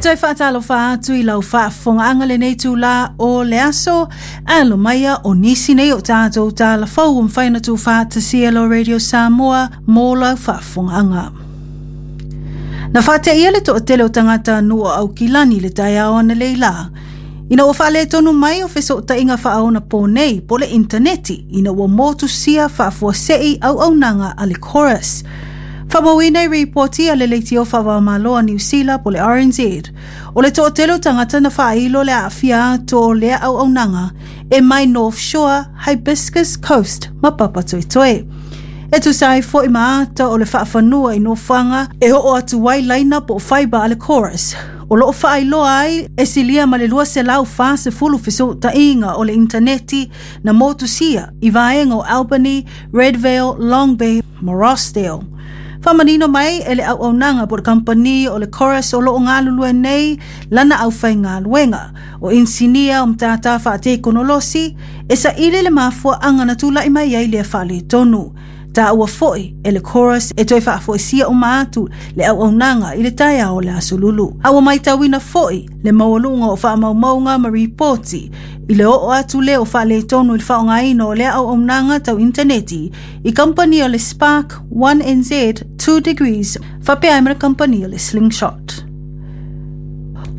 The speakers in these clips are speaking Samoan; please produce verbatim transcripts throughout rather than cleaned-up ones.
Toe faatalofa atu i lau faafofogaaga lenei itulā o le aso. Alo maia o nisi nei o tatou talafou ua mafai ona tuufaatasia lo Radio Samoa mo lau faafofogaaga. Na faateia le toatele o tagata nuu o Aukilani le taeao analeila ina ua faaletonu mai o fesootaiga faaonaponei po le intaneti ina ua motusia faafuasei auaunaga a le Chorus. Faamauina i ripoti a le leitio faava-o-Malo a Niu Sila po le R N Z, o le toatele o tagata na faailo le aafia atu o lea auaunaga e mai North Shore, Hibiscus Coast ma Papatoetoe. E tusa ai foi ma ata o le faafanua i nofoaga e oo atu ai laina po o fibre a le Chorus, o loo faailoa ai e silia ma le lua selau fa sefulu fesootaiga o le intaneti na motusia i vaega o Albany, Redvale, Long Bay ma Rossdale. Faamanino mai e le auaunaga po le kamupani o le Chorus o loo galulue nei lana aufaigaluega o inisinia o matata faatekonolosi e saili le mafuaaga na tula'i mai ai lea faaletonu. Taua foi e le Chorus e toe faafoisia uma atu le auaunaga i le taeao o le aso Lulu. A ua matauina foi le maualuga o faamaumauga ma ripoti i le oo atu lea o faaletonu i le faaaogaina o lea auaunaga tau intaneti i kamupani o le Spark, one N Z, two Degrees faapea ai ma le kamupani o le Slingshot.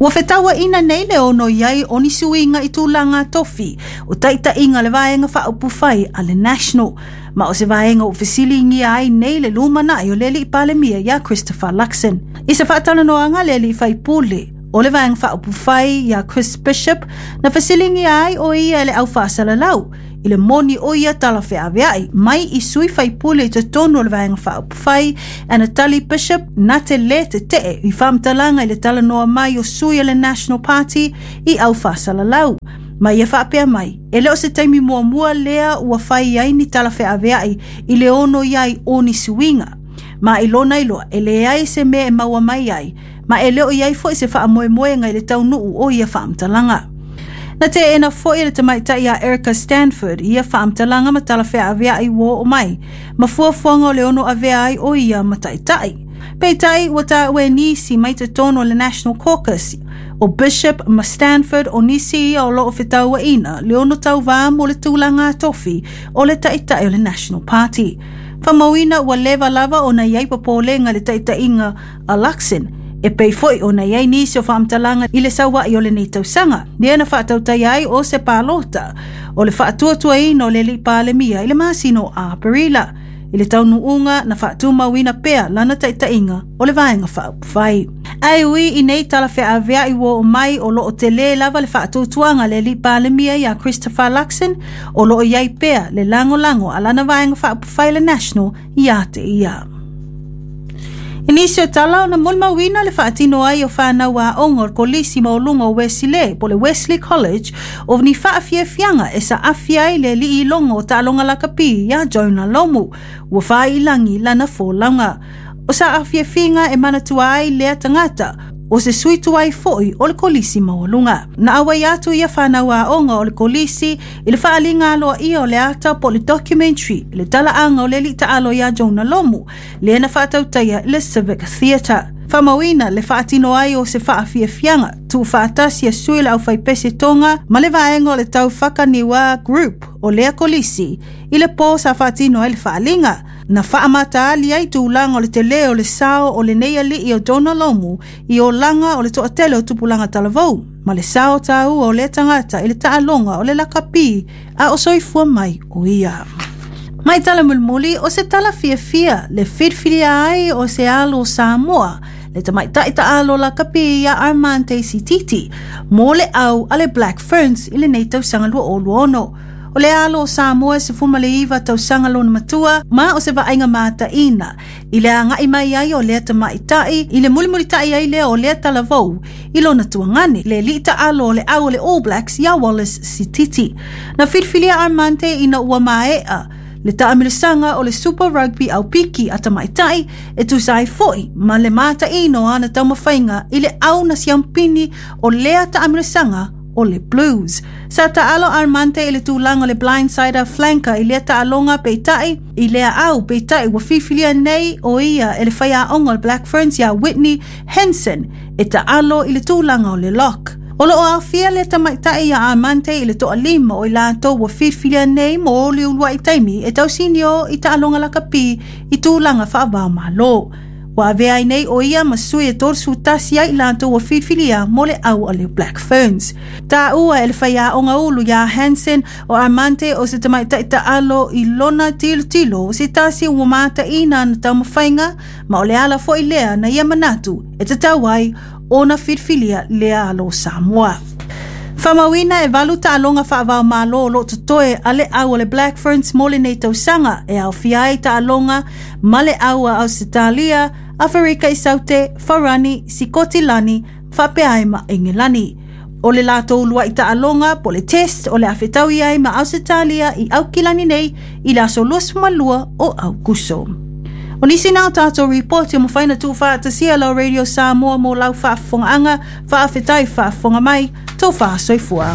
Ua fetauaina nei le ono i ai o ni suiga i tulaga tofi o taitaiga le Vaega Faaupufai a le National, ma o se vaega ua fesiligia ai nei le lumanai o le alii Palemia ia Christopher Luxon. I se faatalanoaga le alii faipule o le Vaega Faaupufai ia Chris Bishop, na fesiligia ai o ia e le au faasalalau i le moni o ia talafeaveai mai i sui faipule i totonu o le Vaega Faaupufai, e na tali Bishop na te lē tetee i faamatalaga i le talanoa mai o sui o le National Party i au faasalalau. Ma ia faapea mai, e le o se taimi muamua lea ua fai ai ni talafeaveai i le ono i ai o ni suiga. Ma i lona iloa, e leai se mea e maua mai ai, ma e le o i ai foi se faamoemoega i le taunuu o ia faamatalaga. Na teena foi le tamaitai a Erica Stanford ia faamatalaga ma talafeaveai ua oo mai, ma fuafuaga o le ono avea ai o ia mataitai. Peitai ua taua e nisi mai totonu o le National Caucus o Bishop ma Stanford o nisi ia o loo fetauaina le ono tauvā mo le tulaga tofi o le taitai o le National Party. Faamauina ua leva lava ona i ai popolega le taitaiga a Luxon e pei foi ona i ai nisi o faamatalaga i le saua'i o lenei tausaga lea na faatautai ai o se palota o le faatuatuaina o le alii Palemia i le masina o Aperila. I le taunuuga na faatumauina pea lana taitaiga o le Vaega Faaupufai. Ae ui i nei talafeavea'i ua oo mai, o loo telē lava le faatuatuaga le alii Palemia iā Christopher Luxon o loo i ai pea le lagolago a lana Vaega Faaupufai le National iā te ia. I nisi o tala ona molimauina le faatino ai o fanau aoga o le Kolisi Maualuga o Uesilē po le Wesley College o ni faafiafiaga e saafi ai le alii iloga o taaloga lakapi iā Jonah Lomu ua faailagi lana folauga. O saafiafiga e manatua ai lea tagata o se sui tuai foi o le Kolisi Maualuga. Na auai atu ia fanau aoga o le kolisi i le faaliga aloaia o le ata po le documentary i le talaaga o le alii taalo iā Jonah Lomu lea na faatautaia i le Civic Theatre. Faamauina le faatino ai o se faafiafiaga tuufaatasi a sui le aufaipese Toga ma le vaega o le Tau Fakaniua Group o lea kolisi i le pō sa faatino ai le faaliga. Na faamataali ai tulaga o le telē o le sao o lenei alii o Jonah Lomu i olaga o le toatele o tupulaga talavou ma le sao taua o lea tagata i le taaloga o le lakapi a o soifua mai o ia. Mai tala mulimuli, o se tala fiafia le filifilia ai o se alo o Samoa le tamaitai taalo lakapi ia Armand Sititi mo le au a le Black Ferns i lenei tausaga lua o lua ono. O le alo o Samoa e sefuma le iva tausaga lona matua, ma o se vaaiga mataina i le aga'i mai ai o lea tamaʻitaʻi i le mulimulitaʻi ai lea o lea talavou i lona tuagane le alii taalo o le au o le All Blacks iā Wallace Sititi. Na filifilia Armante ina ua maeʻa le taamilosaga o le Super Rugby Aupiki a tamaʻitaʻi e tusa ai foʻi ma le mataʻino o ana taumafaiga i le au na siampini o lea taamilosaga. o le Blues. Sa taalo Armante i le tulaga o le blindsider flanker i lea taaloga peitai i lea au peitai ua filifilia nei o ia e le faiaoga o le Black Ferns ia Whitney Hansen e taalo i le tulaga o le lock. O loo aofia le tamaitai ia Armante i le toalima o i latou ua filifilia nei mo le uluai taimi e tausinio i taaloga lakapi i tulaga faavaomalo. Ua avea ai nei o ia ma sui e tolusefu tasi ai i latou ua filifilia mo le au a le Black Ferns. Taua e le faiaoga ulu ia Hansen o Armante o se tamaitai taalo i lona tilotilo o se tasi ua mataina na taumafaiga ma o le ala foi lea na ia manatu e tatau ai ona filifilia lea alo Samoa. Faamauina e valu taaloga faavaomalo o loo totoe a le au o le Black Ferns mo lenei tausaga e aofia ai taaloga ma le au a Ausetalia, Aferika i Saute, Farani, Sikotilani, faapea ai ma Engelani. O le latou uluai taaloga po le test o le a fetaui ai ma Ausetalia i Aukilani nei i le aso luasefulu ma lua o Aukuso. O nisi na o tātou ripoti o mawhai na tuufaatasia lau Radio Samoa mo lau faafofogaaga, faafetai faafofoga mai, tō faasoifua.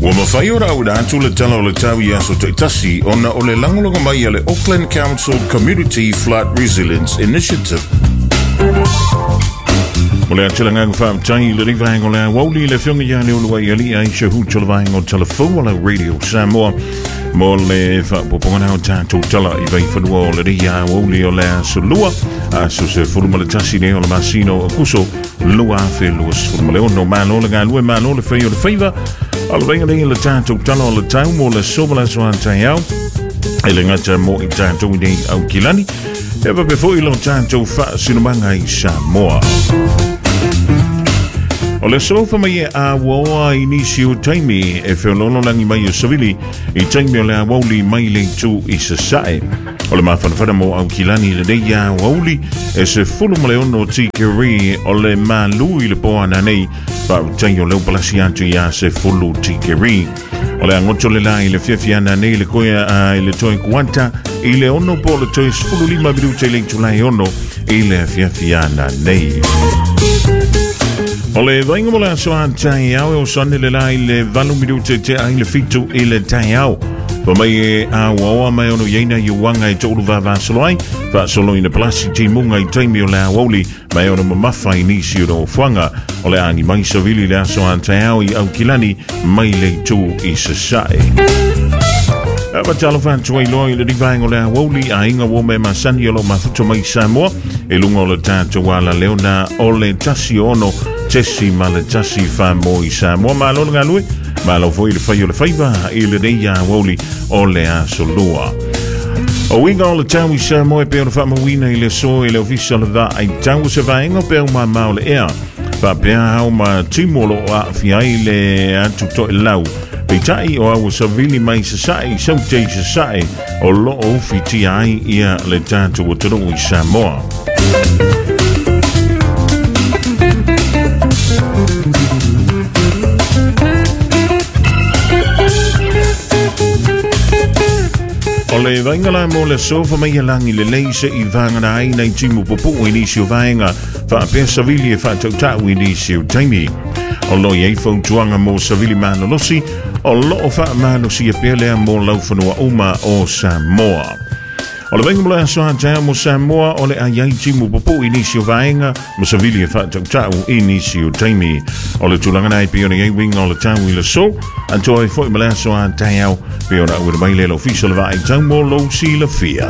Ua mafai ona auina atu le tala o le tau i aso taitasi ona o le lagolago mai a le Auckland Council Community Flood Resilience Initiative. O le atelagaga faafetai i le vaega o le aoauli le afioga ia Leuluai Alii Aisha Hutu o le vaega o Talafou o lau Radio Samoa mo le faaopoopoga o tatou tala i vaifanua o lenei aoauli o le aso lua aso sefulu ma le tasi nei o le masina o Akuso lua afe luasefulu ma le ono. Malo le galue, malo le fai o le faiva. O le vaiga nei le tatou tala o le tau mo le aso ma le aso a taeao e le gata mo i tatou i nei Aukilani e faapea foi lo tatou faasinomaga i Samoa. O le sofa mai e auaoa i nisi o taimi e feololo lagi mai o savili i taimi o le aoauli mai le itu i sasae. O le mafanafana mo Aukilani lenei aoauli e sefulu ma le ono tikeri o le malu i le poana nei faautai o leo palasi atu ia sefulu tikeri. O le agoto le la i le fiafiana nei le koea i le toe kuata i le ono po le toe sefulu lima minuta i le itula e ono i le fiafiana nei. O le vainga mo le aso a taeao e o sane le la i le valu minuta te ai le fitu i le taeao. Pa mai e auaoa mai ono iaina i uanga e to'ulu vavasolo ai, faasolo ina palasi timuga i taimi o le aoauli mai ono mamafa i nisi o nofoaga. O le agi mai savili le aso a taeao i Aukilani mai le itu i sasae. Fatalofa atu ai loa i le vaega o le aoauli aiga ua me masani o lo mafuta mai Samoa e luga o le tatou ala leona o le tasi ono tesi ma le tasi famo i Samoa. Malo le galue, malo foi le fai o le faiva i lenei aoauli o le aso lua. O uiga o le tau i Samoa e pei ona faamauina i le aso e le ofisa o le vaai tau o se vaega o peau mamao le ea. Faapea ao ma timu o loo aafia ai le atu toelau. Peitai o au savili mai sasae i saute i sasae o loo ufitia ai ia le tatou atunuu i Samoa. O le vainga la mo le sofa mai e lagi lelei se i vagana ai nei timu pupuu i nisi o vaega faapea savili e faatautau i nisi o taimi. O lo i ai fautuaga mo savili malolosi o loo faamalosia pea lea mo laufanua uma o Samoa. O le vainga mo le aso a taeao mo Samoa o le ai ai timu pupuu i nisi o vaega ma savili e faatautau i nisi o taimi. O le tulaga nei pei ona i ai uiga o le tau i le aso atoa ai foi ma le aso a taeao pei ona auina mai lea le ofisa o le vaai tau mo lou silafia.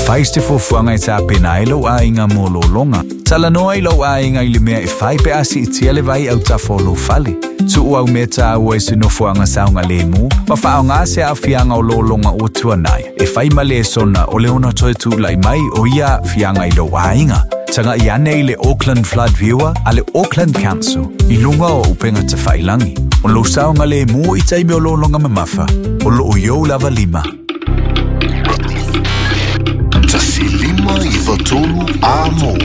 Fai se fuafuaga e tapena ai lou aiga mo lologa. Talanoa i lou aiga i le mea e fai pe a siitia le vai autafa o lou fale. Tuu au mea taua i se nofoaga saogalemu ma faaaogā se aafiaga o lologa ua tuanai. E fai ma lesona o le ono toe tulai mai o ia aafiaga i lou aiga. Tagai ane i le Auckland Flood Viewer a le Auckland Council i luga o upega tafailagi. O lou saogalemu i taimi o lologa mamafa. O loo i ou lava lima. Tasi lima iva tolu a mo.